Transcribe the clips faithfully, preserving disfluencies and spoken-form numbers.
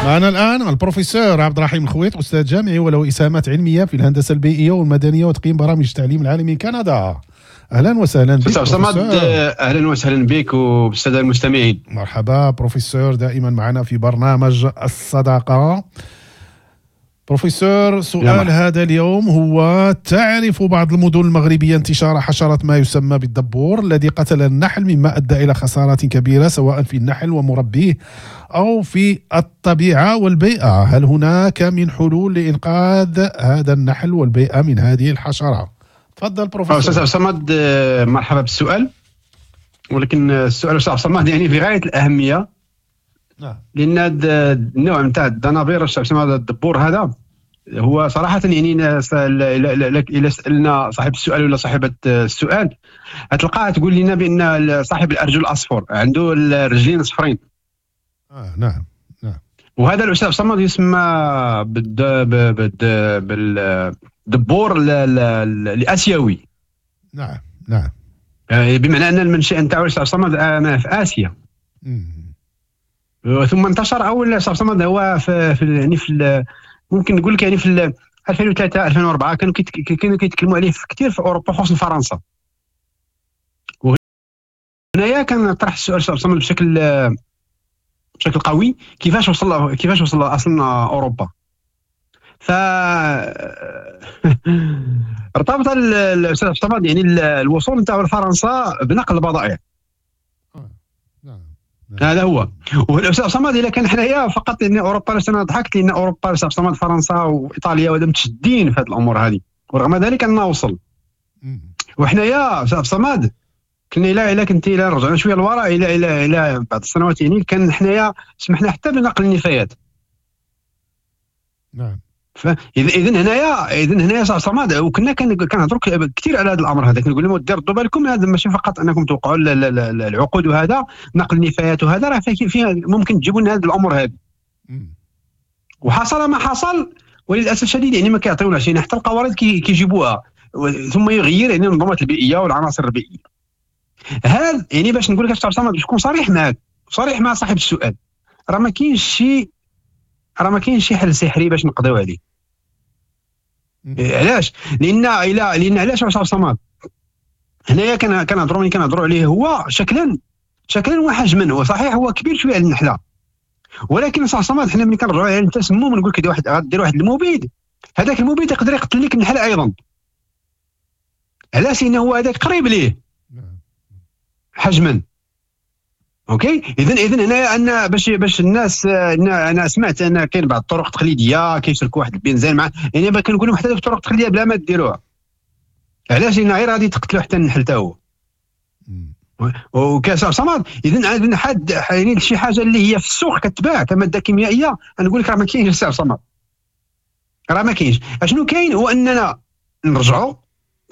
معنا الآن البروفيسور عبد الرحيم الخويط، أستاذ جامعي وله إسهامات علمية في الهندسة البيئية والمدنية وتقييم برامج التعليم العالمي كندا. أهلا وسهلا بك. أستاذ صمد، أهلا وسهلا بك وبالسادة المستمعين. مرحبا بروفيسور، دائما معنا في برنامج الصداقة. بروفيسور، سؤال هذا اليوم هو: تعرف بعض المدن المغربية انتشار حشرة ما يسمى بالدبور الذي قتل النحل، مما أدى إلى خسارات كبيرة سواء في النحل ومربيه أو في الطبيعة والبيئة. هل هناك من حلول لإنقاذ هذا النحل والبيئة من هذه الحشرة؟ تفضل بروفيسور. أستاذ صمد، مرحبا بالسؤال، ولكن السؤال أستاذ صمد يعني في غاية الأهمية. نعم. لأن هذا النوع نتاع الدنابير هذا الدبور هذا هو صراحة يعني إلى سألنا صاحب السؤال ولا صاحبة السؤال هتلقاها تقول لنا بأن صاحب الأرجل الأصفر عنده الرجلين صفرين. آه نعم نعم. وهذا الأستاذ صمد يسمى بالد بالد بالدبور الآسيوي. نعم نعم. بمعنى أن المنشأ نتاعو الأستاذ صمد في آسيا. مم. ثم انتشر اول صاحب صمد هو في, في يعني في ممكن نقول لك يعني في ألفين وثلاثة ألفين وأربعة كانوا كانوا كيتكلموا عليه كثير في اوروبا خصوصا فرنسا. وهنايا كان طرح السؤال صاحب صمد بشكل بشكل قوي، كيفاش وصل كيفاش وصل اصلا اوروبا. ف ارتبط الاستاذ صمد يعني الوصول نتاعو لفرنسا بنقل البضائع. هذا هو. والاستاذ صمد الا كان حنايا فقط لان اوروبا، انا ضحكت لان اوروبا الاستاذ صمد فرنسا وايطاليا وهذا متشدين في هذه الامور هذه، ورغم ذلك انه وصل. وحنايا استاذ صمد كنا الى الى كنت الى رجعنا شوية للوراء الى الى الى بعض السنوات يعني كان حنايا سمحنا حتى بنقل النفايات. نعم. فاذا اذا هنايا اذا هنايا صاحب صمد وكنا كنهضروا كثير على هذا الامر هذا، كنقول لهم ديروا بالكم هذا ماشي فقط انكم توقعوا العقود وهذا نقل النفايات وهذا راه فيه ممكن تجيبوا لنا هذه الامور هذه. وحصل ما حصل وللاسف الشديد يعني ما كيعطيوناش يعني حتى القوارض كيجيبوها ثم يغير يعني المنظومات البيئية والعناصر البيئية. هذا يعني باش نقول لك صاحب صمد باش نكون صريح معك صريح مع صاحب السؤال، راه ما كاينش شي راه ما كاينش شي حل سحري باش نقضيو عليه. علاش؟ لان الى لان علاش صاحب صمد هنايا كنهضروا ملي كنهضروا عليه هو شكلا شكلا وحجما هو صحيح هو كبير شوية على النحلة، ولكن صاحب صمد حنا ملي كنرجعوا عليه التسمم نقول لك واحد غدير واحد المبيد، هذاك المبيد يقدر يقتل لك النحلة ايضا. علاش؟ لان هو هذاك قريب ليه حجما. OK، اذا اذا هنايا ان باش باش الناس انا سمعت ان كاين بعض الطرق التقليدية كيشركوا واحد البنزين مع يعني كنقول لهم حتى الطرق التقليدية بلا ما ديروها. علاش؟ لان غير غادي تقتلوا حتى النحل حتى هو. وكاس صمد اذا عندنا حد يعني شي حاجة اللي هي في السوق كتباع كمادة كيميائية نقول لك راه ما كاينش سي صمد، راه ما كاينش. اشنو كاين؟ هو اننا نرجعوا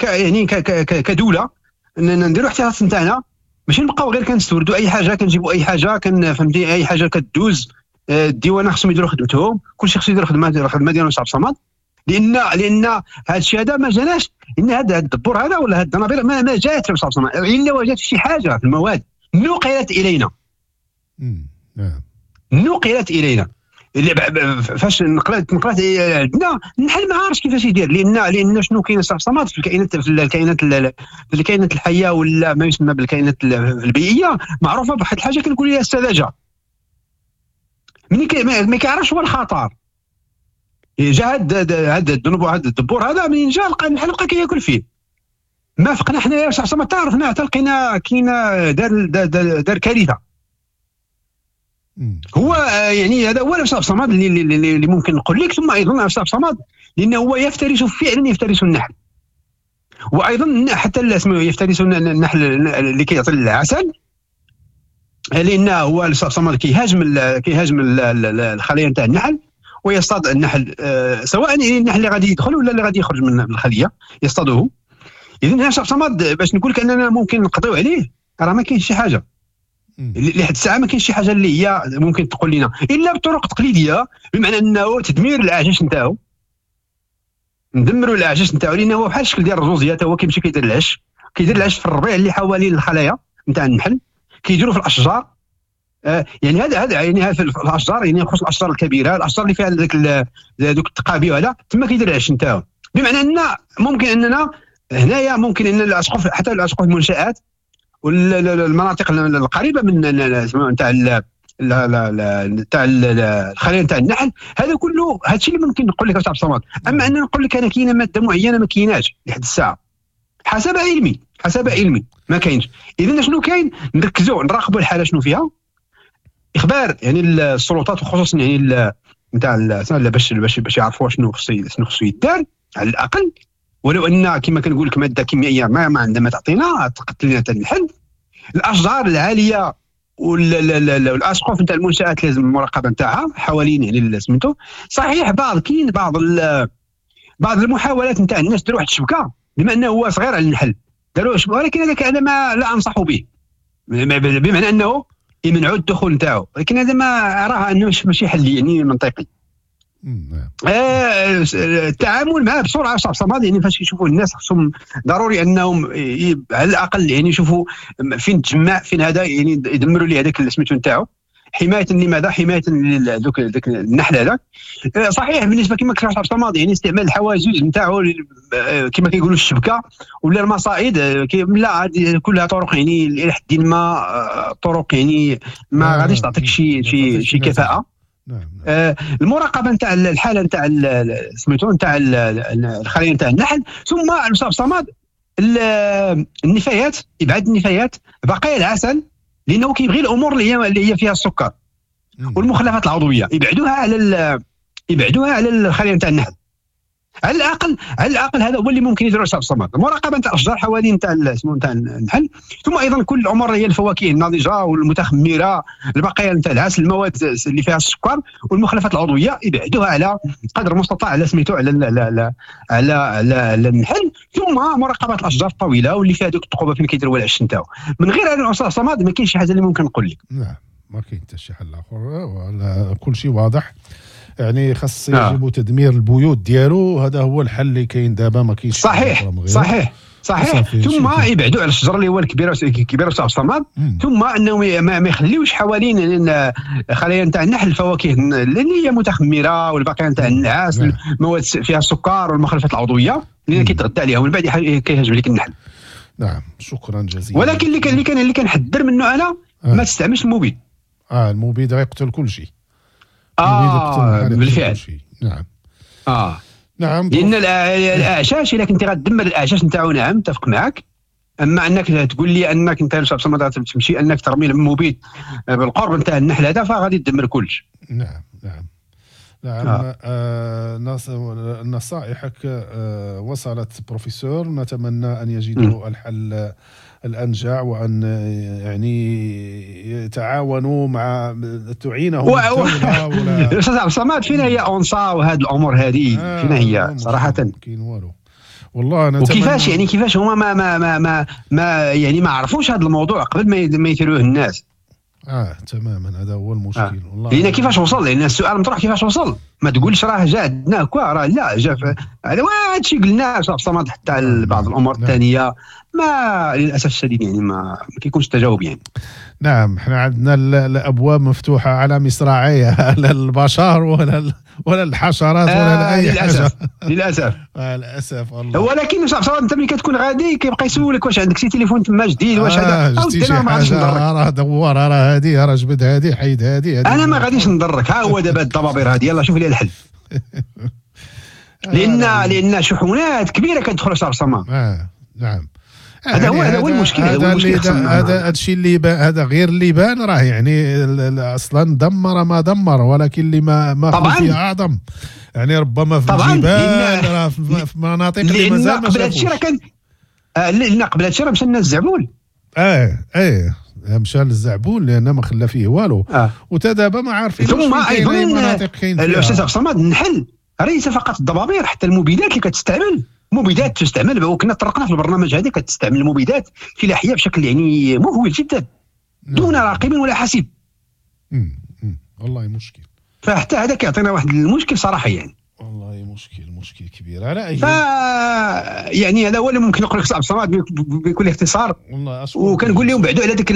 يعني كدولة اننا نديروا احتياطات نتاعنا، ماشي نبقاو غير كنستوردوا اي حاجة، كنجيبوا اي حاجة، كن فهمتي اي حاجة كدوز. الديوانه خصهم يديروا خدمتهم، كلشي خصو يدير خدمة الخدمة ديالو صاحب صمد. لان لان هذا الشيء هذا ما جاناش، ان هذا الدبور هذا ولا هذا الدنابير ما, ما جات صاحب صمد، الا وجدت شي حاجة في المواد نقلت الينا. نعم نقلت الينا. فاش نقلت نقلت عندنا النحل ما عارفش كيفاش يدير، لان لان شنو كاين صاحب صمد في الكائنات في الكائنات في الكائنات الحية ولا ما يسمى بالكائنات البيئية معروفة بواحد الحاجة كنقول لها السذاجة. ملي ما كيعرفش هو الخطر، جا هاد هاد الذنوب هاد الدبور هذا منين جا لقى النحل بقى كياكل فيه. ما فقنا حنايا صاحب صمد تعرفنا حتى لقينا كاينه دار دار, دار كارثة. هو يعني هذا هو الأستاذ صمد اللي, اللي, اللي ممكن نقول لك. ثم ايضا الأستاذ صمد لانه هو يفترس فعلا يفترس النحل، وايضا حتى اسمه يفترس النحل اللي كيعطي العسل، لانه هو الأستاذ صمد كيهاجم كيهاجم الخلية نتاع النحل ويصطاد النحل، سواء يعني النحل اللي غادي يدخل ولا اللي غادي يخرج من الخلية يصطاده. اذا الأستاذ صمد باش نقول لك اننا ممكن نقضيو عليه راه ما كاينش شي حاجة لحد الساعة، ما كاينش شي حاجة اللي هي ممكن تقول لنا الا بطرق تقليدية، بمعنى انه تدمير العجاج نتاعو، ندمروا العجاج نتاعو، لانه هو بحال الشكل ديال الرزوزيه حتى هو كيمشي كيدير العش، كيدير العش في الربيع اللي حوالين الخلايا نتاع النحل، كيديروا في الاشجار، آه يعني هذا هذا يعني في الاشجار، يعني خصوصا الاشجار الكبيرة، الاشجار اللي فيها ذاك دوك التقابي وهذا تما كيدير العش نتاعو. بمعنى ان ممكن اننا هنايا ممكن ان الاسقف، حتى الاسقف المنشات والمناطق القريبة من نتاع تاع الخلية نتاع النحل، هذا كله هذا الشيء اللي ممكن نقول لك عبد الصمد. اما ان نقول لك انا كاينه مادة معينة ما كايناش لحد الساعة حسب علمي، حسب علمي ما كاينش. اذا شنو كاين؟ نركزوا نراقبوا الحالة شنو فيها، اخبار يعني السلطات وخصوصا يعني نتاع باش باش باش يعرفوا شنو خصو شنو خصو يدار على الاقل. ولو ان كما كنقول لك مادة كيميائية ما, ما عندها ما تعطينا، تقتل لنا النحل. الاشجار العالية والاسقف نتاع المنشات لازم المراقبة نتاعها حوالين يعني سميتو. صحيح بعض كاين بعض بعض المحاولات نتاع الناس داروا واحد الشبكة بما انه هو صغير على النحل داروا شبكة، ولكن هذاك انا ما لا انصح به، بمعنى انه يمنعوا الدخول نتاعو، ولكن هذا ما اراه انه ماشي حل يعني منطقي. آه التعامل معه بسرعة صعب صمد، يعني فاش يشوفوا الناس خصهم ضروري انهم على الاقل يعني يشوفوا فين تجمع فين هذا، يعني يدمروا ليه هذاك سميتو نتاعو، حماية لماذا؟ حماية لذوك ذاك النحل هذاك. صحيح بالنسبة كما كتشرح عبد الصمد يعني استعمال الحواجز نتاعو كما كيقولوا الشبكة ولا المصائد، لا هذه كلها طرق يعني الى حد ما طرق يعني ما غاديش تعطيك شي شي شي كفاءة. نعم. آه المراقبة نتاع الحالة نتاع سميتو نتاع الخلية نتاع النحل، ثم الاستاذ صمد النفايات، ابعاد النفايات، بقايا العسل لانه كيبغي الامور اللي هي اللي هي فيها السكر والمخلفات العضوية يبعدوها على يبعدوها على الخلية نتاع النحل على الاقل. على الاقل هذا هو اللي ممكن يديروا الاستاذ صمد، المراقبة نتاع الاشجار حوالين نتاع اسمه نتاع النحل، ثم ايضا كل الامور هي الفواكه الناضجة والمتخمره، البقايا نتاع العسل، المواد اللي فيها السكر والمخلفات العضوية يبعدوها على قدر المستطاع على سميتو على على على على النحل، ثم مراقبة الاشجار الطويلة واللي فيها دوك الثقوبه فين كيديروا العش نتاعو. من غير هذا الاستاذ صمد ما كاينش شي حاجة اللي ممكن نقول لك. نعم ما كاين حتى شي حل اخر، ولا كل شيء واضح. يعني خاص يجب تدمير البيوت ديالو، هذا هو الحل اللي كاين دابا، ما كاينش. صحيح صحيح صحيح. ثم يبعدوا على الشجرة اللي هو الكبيرة الكبيرة تاع الصمد، ثم انهم ما يخليوش حوالين خلايا نتاع النحل الفواكه اللي هي متخمره والبقايا نتاع النعاس، المواد فيها السكر والمخلفات العضوية اللي كيتغدى عليها ومن بعد كيهاجم لك النحل. نعم شكرا جزيلا. ولكن اللي كان اللي كان اللي كنحذر منه انا آه. ما تستعملش المبيد. اه المبيد غيقتل كل شيء. اه بالفعل. نعم اه نعم، لان الاعشاش الا كنتي غتدمر الاعشاش نتاعو نعم اتفق معك، اما انك تقول لي انك انت تمشي انك ترمي المبيد بالقرب نتاع النحل هذا فغادي تدمر كلش. نعم نعم نعم. آه. آه نصائحك آه وصلت بروفيسور، نتمنى ان يجدوا الحل الأنجع وأن يعني يتعاونوا مع تعينهم و... ولا أستاذ عبد الصمد فينا هي أونصا وهذه الأمور هذه آه فينا هي صراحة كاين والو والله. أنا وكيفاش يعني كيفاش هما ما ما ما ما, ما يعني ما عرفوش هذا الموضوع قبل ما ما يثيروه الناس. اه تماما هذا هو المشكل. آه. والله لان كيفاش وصل، لان السؤال مطروح كيفاش وصل، ما تقولش راه جا عندنا كوا راه لا جا هذا هذا الشيء قلناه صاحب الصمد حتى بعض الامور الثانية ما للاسف الشديد يعني ما, ما كيكونش تجاوب يعني. نعم احنا عندنا الابواب مفتوحة على مصراعيها لا البشر ولا ولا الحشرات ولا آه اي حاجة للاسف للاسف والله. ولكن صاحب الصمد انت ملي كتكون غادي كيبقى يسولك واش عندك شي تليفون تما جديد واش هذا او انا ما غاديش نضرك، راه دور راه هذه راه جبد هذه حيد هذه، انا ما غاديش نضرك، ها هو دابا الضبابير هذه يلا شوف لي الحل. لان لان شحنات كبيرة كتدخل صاحب الصمد. اه نعم هذا هو هذا هو المشكل، هذا هو المشكل. هذا هذا الشيء اللي هذا غير اللي بان راه يعني اصلا دمر ما دمر، ولكن اللي ما ما خفي اعظم يعني ربما في الجبال راه في مناطق اللي مازال ما قبل هذا الشيء راه كان لان قبل هذا الشيء راه مشى لنا الزعبول. اه اه مشى للزعبول لان ما خلى فيه والو آه. وتا دابا ما عارفين. ثم ايضا الاستاذ عبد الصمد النحل ليس فقط الضبابير، حتى المبيدات اللي كتستعمل، مبيدات تستعمل، وكنا طرقنا في البرنامج هذا كتستعمل المبيدات فلاحية بشكل يعني مهول جدا دون راقب ولا حسيب. امم والله مشكل. فحتى هذا كيعطينا واحد المشكل صراحة يعني. والله مشكل. مشكل مشكل كبير على اي ف يعني هذا هو اللي ممكن نقول لك عبد الصمد بكل اختصار. وكنقول لهم بعدوا على ديك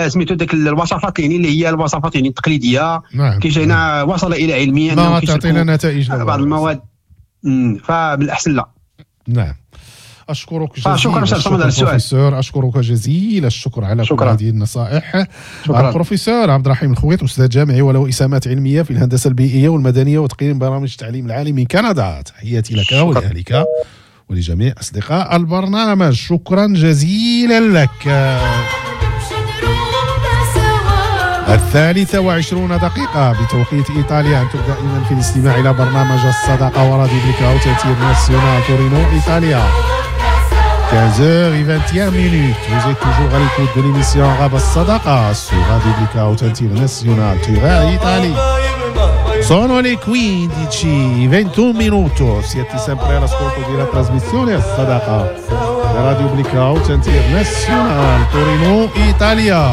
سميتو ديك الوصفات يعني اللي هي الوصفات يعني التقليدية. نعم. كيجينا وصل الى علميا ما تعطينا نتائج بعض المواد، فبالاحسن لا. نعم اشكرك جزيلا. شكرا على السؤال بروفيسور، اشكرك جزيل الشكر على كل هذه النصائح. شكرا. البروفيسور عبد الرحيم الخويط، استاذ جامعي وله اسامات علمية في الهندسة البيئية والمدنية وتقييم برامج التعليم العالي من كندا. تحياتي لك ولاهلك ولجميع اصدقاء البرنامج. شكرا جزيلا لك. الثالثة وعشرون دقيقة بتوقيت إيطاليا. أنتم دائما في الاستماع إلى برنامج الصداقة وراديو Blue Haute International تورينو إيطاليا. quinze heures et vingt et une minutes. Vous êtes toujours à l'écoute de l'émission Arabe Sadaqa sur Radio Blue Haute International Turin, Italie. Sono le quindici e ventuno minuti. Siete sempre all'ascolto della trasmissione Sadaqa da Radio Blue Haute International Torino, Italia.